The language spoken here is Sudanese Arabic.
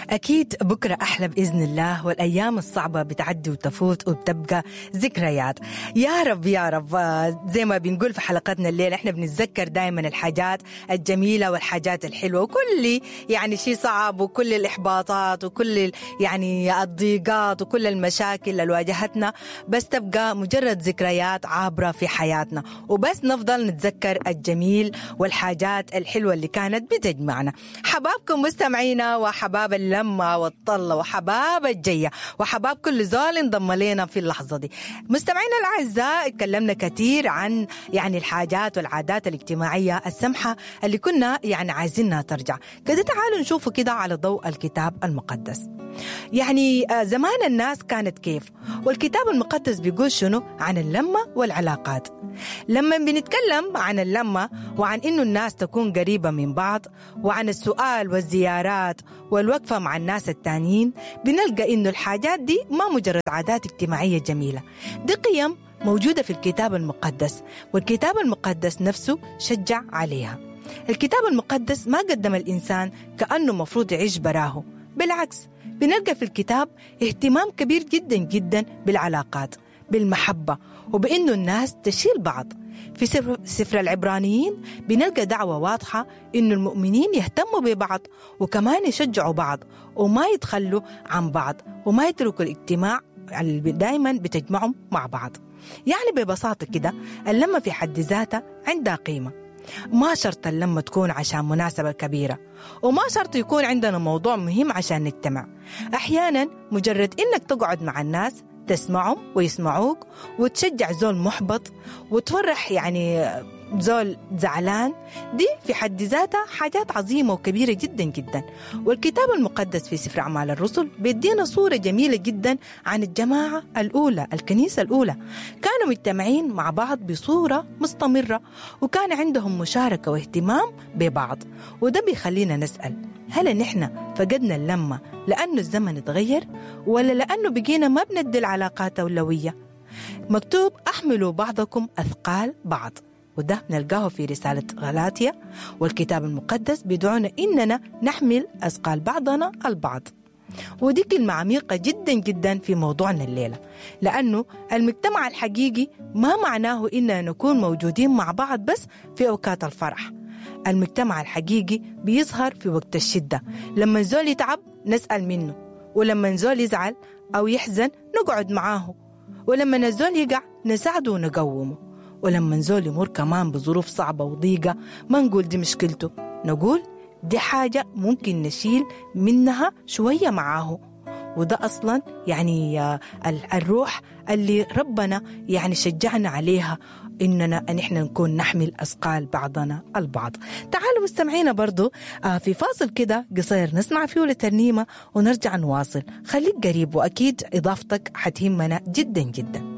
أكيد بكرة أحلى بإذن الله، والأيام الصعبة بتعدي وتفوت وبتبقى ذكريات يا رب يا رب. زي ما بنقول في حلقتنا الليلة، احنا بنتذكر دائما الحاجات الجميلة والحاجات الحلوة، وكل يعني شيء صعب وكل الإحباطات وكل يعني الضيقات وكل المشاكل اللي واجهتنا، بس تبقى مجرد ذكريات عابرة في حياتنا، وبس نفضل نتذكر الجميل والحاجات الحلوة اللي كانت بتجمعنا. حبابكم مستمعينا، وحباب اللمة والطلة، وحباب الجية، وحباب كل زول انضم لنا في اللحظة دي. مستمعينا الأعزاء، اتكلمنا كثير عن يعني الحاجات والعادات الاجتماعية السمحة اللي كنا يعني عايزينها ترجع. كده تعالوا نشوفوا كده على ضوء الكتاب المقدس، يعني زمان الناس كانت كيف، والكتاب المقدس بيقول شنو عن اللمة والعلاقات. لما بنتكلم عن اللمة وعن إنه الناس تكون قريبة من بعض، وعن السؤال والزيارات والوقفة مع الناس التانيين، بنلقى إنه الحاجات دي ما مجرد عادات اجتماعية جميلة، دي قيم موجودة في الكتاب المقدس، والكتاب المقدس نفسه شجع عليها. الكتاب المقدس ما قدم الإنسان كأنه مفروض يعيش براه، بالعكس بنلقى في الكتاب اهتمام كبير جدا جدا بالعلاقات، بالمحبة، وبأنه الناس تشيل بعض. في سفر العبرانيين بنلقى دعوة واضحة إنه المؤمنين يهتموا ببعض، وكمان يشجعوا بعض، وما يتخلوا عن بعض، وما يتركوا الاجتماع اللي دايما بتجمعهم مع بعض. يعني ببساطة كده اللمة في حد ذاتها عندها قيمة. ما شرط اللمة تكون عشان مناسبة كبيرة، وما شرط يكون عندنا موضوع مهم عشان نجتمع. أحيانا مجرد إنك تقعد مع الناس، تسمعهم ويسمعوك، وتشجع زول محبط، وتفرح يعني زول زعلان، دي في حد ذاتها حاجات عظيمة وكبيرة جدا جدا. والكتاب المقدس في سفر أعمال الرسل بيدينا صورة جميلة جدا عن الجماعة الأولى، الكنيسة الأولى. كانوا مجتمعين مع بعض بصورة مستمرة، وكان عندهم مشاركة واهتمام ببعض. وده بيخلينا نسأل، هل نحن فقدنا اللمة لأنه الزمن اتغير، ولا لأنه بقينا ما بندي العلاقات أولوية؟ مكتوب أحملوا بعضكم أثقال بعض، وده نلقاه في رسالة غلاطيا. والكتاب المقدس بيدعونا إننا نحمل أثقال بعضنا البعض. ودي كلمة عميقة جدا جدا في موضوعنا الليلة، لأنه المجتمع الحقيقي ما معناه إننا نكون موجودين مع بعض بس في أوقات الفرح. المجتمع الحقيقي بيظهر في وقت الشدة، لما زول يتعب نسأل منه، ولما زول يزعل أو يحزن نقعد معاه، ولما الزول يقع نساعده ونقومه، ولما زول يمر كمان بظروف صعبة وضيقة ما نقول دي مشكلته، نقول دي حاجة ممكن نشيل منها شوية معاه. وده أصلا يعني الروح اللي ربنا يعني شجعنا عليها، إننا نحن نكون نحمل أثقال بعضنا البعض. تعالوا مستمعينا برضو في فاصل كده قصير نسمع فيه لترنيمة ونرجع نواصل. خليك قريب، وأكيد إضافتك حتهمنا جدا جدا.